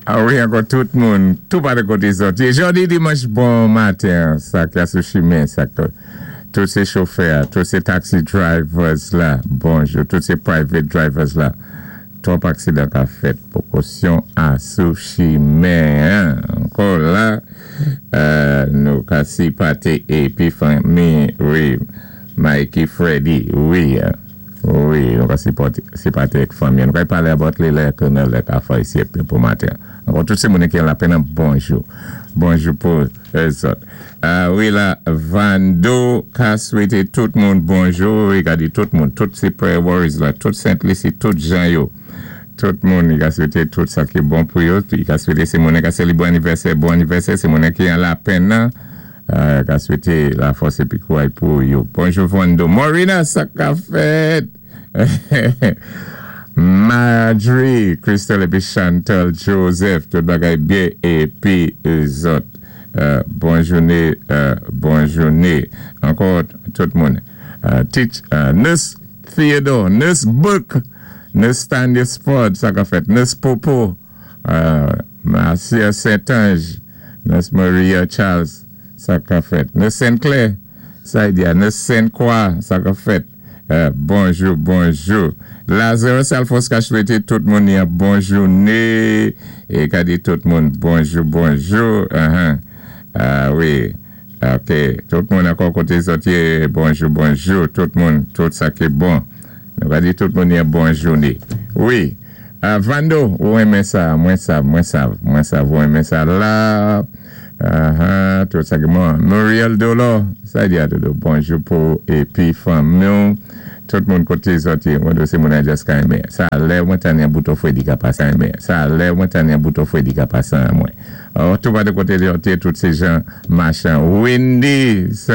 A wi, ankò tout moun, tou pa de koté zòt. Jòdi dimanch bon maten, sa ki sou chimen, sa ki tout sé chofè, tout sé taxi drivers la, bonjou, tout sé private drivers la. Twòp aksidan ka fèt, pwékosyon a sou chimen. Ankò la, nou ka sipòté épi fanmi, wi, Mikey Freddy, wi, nou ka sipòté ek fanmi. Nou ka palé about li lè ke nan lè ka fè isi épi pou maten. Ankò tout sé moun ki la penn, bonjou. Bonjou pou zòt. Wi la, Vando ka swété tout moun bonjou. Wi, ka di tout moun, tout sé prayer warriors la, tout Sent Lisi, tout jan yo. Tout moun, i ka swété tout sa ki bon pou yo. I ka swété sé moun ka sélébré anivèsè, bon anivèsè, sé moun ki an lapenn nan. Ka swété lafòs épi kouray pou yo. Bonjou Vando. Morina, sa ka fèt. Marjorie, Crystal épi Chantal Joseph, tout bagay byen épi zòt. Bon jouné, bon jouné. Ankò tout moun. Teach, Nurse Theodore, Nurse Book, Nurse Stanley Sport, sa ka fèt. Nurse Popo, Marcia Saint-Ange, Nurse Maria Charles, sa ka fèt. Nurse Saint-Clair, sa y di a. Nurse Saint-Croix, sa ka fèt. Bonjou, bonjou. Lazarus Alphonse ka swété tout moun yon bon jouné. É ka di tout moun bonjou, bonjou. Wi, ok. Tout moun ankò koté zòt yé, bonjou, bonjou. Tout moun, tout sa ki bon. Nou ka di tout moun yon bon jouné. Wi. Vando, ou renmen sa, mwen sav, mwen sav, mwen sav, ou renmen sa la. Tout sa ki bon. Muriel Dolo, sa di a dodo, bonjou pou épi fanmi. Tout moun koté zòt yé, mwen do sé moun a just ka renmen. Sa lè mwen tann yon bouton fwédi ka pasa renmen. Sa lè mwen tann yon bouton fwédi ka pasa mwen. Oh, tout pa de koté zòt yé, tout sé jan machan. Wendy, sa